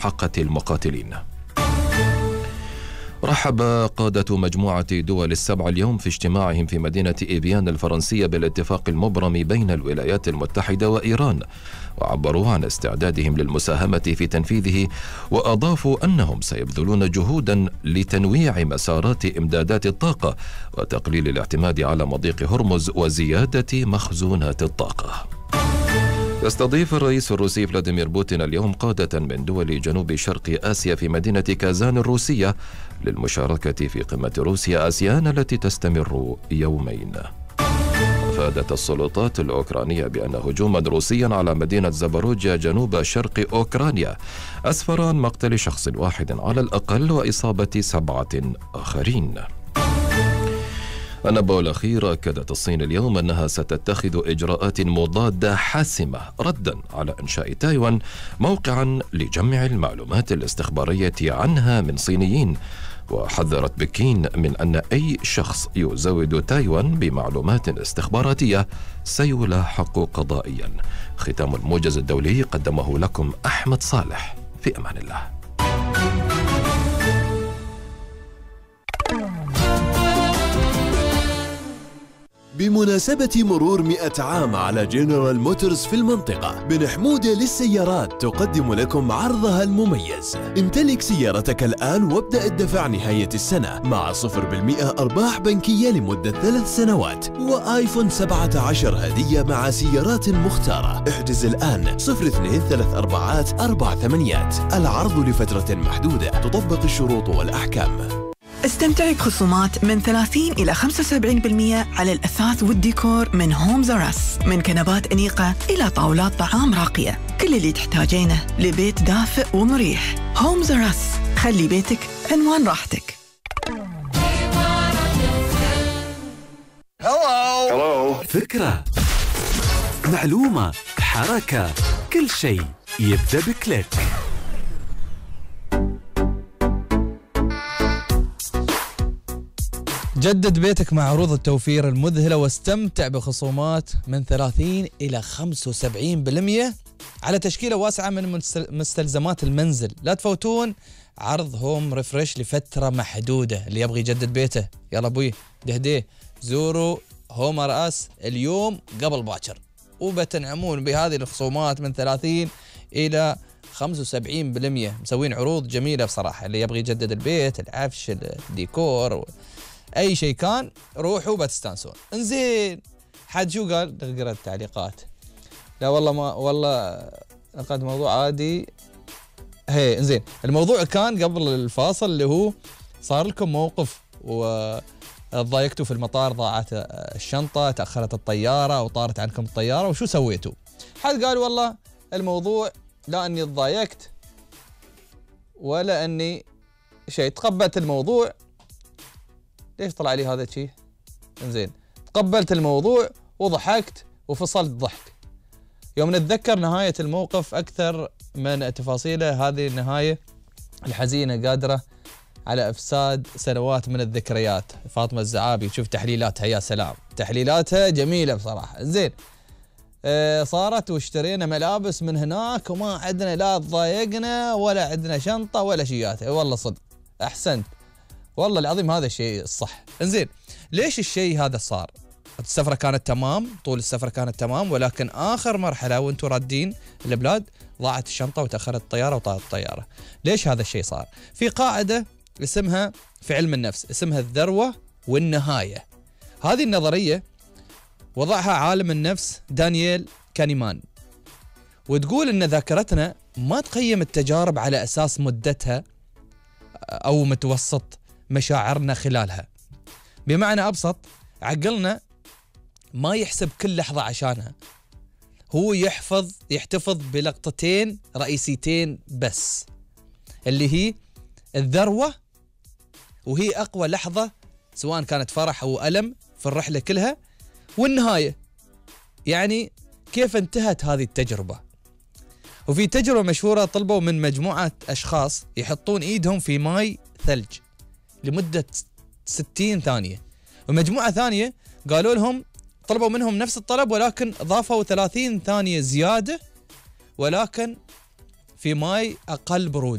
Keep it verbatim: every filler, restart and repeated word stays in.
حقة المقاتلين. رحب قادة مجموعة دول السبع اليوم في اجتماعهم في مدينة إيفيان الفرنسية بالاتفاق المبرم بين الولايات المتحدة وإيران، وعبروا عن استعدادهم للمساهمة في تنفيذه، وأضافوا أنهم سيبذلون جهودا لتنويع مسارات إمدادات الطاقة وتقليل الاعتماد على مضيق هرمز وزيادة مخزونات الطاقة. يستضيف الرئيس الروسي فلاديمير بوتين اليوم قادة من دول جنوب شرق آسيا في مدينة كازان الروسية للمشاركة في قمة روسيا آسيان التي تستمر يومين. أفادت السلطات الأوكرانية بأن هجوما روسيا على مدينة زاباروجيا جنوب شرق أوكرانيا أسفر عن مقتل شخص واحد على الأقل وإصابة سبعة آخرين. النبأ الأخير: أكدت الصين اليوم أنها ستتخذ إجراءات مضادة حاسمة ردا على إنشاء تايوان موقعا لجمع المعلومات الاستخبارية عنها من صينيين، وحذرت بكين من أن أي شخص يزود تايوان بمعلومات استخباراتية سيلاحق قضائيا. ختام الموجز الدولي قدمه لكم أحمد صالح. في أمان الله. بمناسبة مرور مئة عام على جنرال موتورز في المنطقة، بن حمودة للسيارات تقدم لكم عرضها المميز. امتلك سيارتك الآن وابدأ الدفع نهاية السنة مع صفر بالمئة أرباح بنكية لمدة ثلاث سنوات وآيفون سبعة عشر هدية مع سيارات مختارة. احجز الآن صفر اثنين ثلاث أربعات أربع ثمانيات. العرض لفترة محدودة، تطبق الشروط والأحكام. استمتعي بخصومات من ثلاثين إلى خمسة وسبعين بالمئة على الأثاث والديكور من هومز أر أس، من كنبات أنيقة إلى طاولات طعام راقية. كل اللي تحتاجينه لبيت دافئ ومريح. هومز أر أس، خلي بيتك عنوان راحتك. هلو. فكرة، معلومة، حركة، كل شيء يبدأ بكليك. جدد بيتك مع عروض التوفير المذهلة واستمتع بخصومات من ثلاثين إلى خمسة وسبعين بالمئة على تشكيلة واسعة من مستلزمات المنزل. لا تفوتون عرض هوم ريفرش لفترة محدودة. اللي يبغي يجدد بيته يلا أبوي دهديه، زوروا هوم أر أس اليوم قبل باكر وبتنعمون بهذه الخصومات من ثلاثين إلى خمسة وسبعين بالمئة. مسوين عروض جميلة بصراحة. اللي يبغي يجدد البيت، العفش، الديكور، أي شيء كان، روحوا بتستانسون. انزين، حد شو قال؟ نقرأ التعليقات. لا والله ما والله لقد موضوع عادي. هي انزين، الموضوع كان قبل الفاصل اللي هو صار لكم موقف وضايقتوا في المطار، ضاعت الشنطة، تأخرت الطيارة أو طارت عنكم الطيارة، وشو سويتوا؟ حد قال والله الموضوع لا أني تضايقت ولا أني شيء، تقبلت الموضوع. ليش طلع لي هذا الشيء؟ انزين، تقبلت الموضوع وضحكت وفصلت ضحك. يوم نتذكر نهاية الموقف أكثر من تفاصيله، هذه النهاية الحزينة قادرة على إفساد سنوات من الذكريات. فاطمة الزعابي، شوف تحليلاتها يا سلام، تحليلاتها جميلة بصراحة. انزين، اه صارت واشترينا ملابس من هناك وما عندنا لا تضايقنا ولا عندنا شنطة ولا شيات. والله صدق أحسنت، والله العظيم هذا الشيء الصح. انزين، ليش الشيء هذا صار؟ السفرة كانت تمام، طول السفرة كانت تمام، ولكن آخر مرحلة وانتم رادين البلاد ضاعت الشنطة وتأخرت الطيارة وطارت الطيارة. ليش هذا الشيء صار؟ في قاعدة اسمها في علم النفس اسمها الذروة والنهاية. هذه النظرية وضعها عالم النفس دانييل كانيمان، وتقول ان ذاكرتنا ما تقيم التجارب على أساس مدتها أو متوسط مشاعرنا خلالها. بمعنى أبسط، عقلنا ما يحسب كل لحظة عشانها، هو يحفظ يحتفظ بلقطتين رئيسيتين بس، اللي هي الذروة، وهي أقوى لحظة سواء كانت فرح أو ألم في الرحلة كلها، والنهاية يعني كيف انتهت هذه التجربة. وفي تجربة مشهورة طلبوا من مجموعة أشخاص يحطون إيدهم في ماء ثلج لمدة ستين ثانية، ومجموعة ثانية قالوا لهم طلبوا منهم نفس الطلب ولكن ضافوا ثلاثين ثانية زيادة، ولكن في ماي أقل برودة.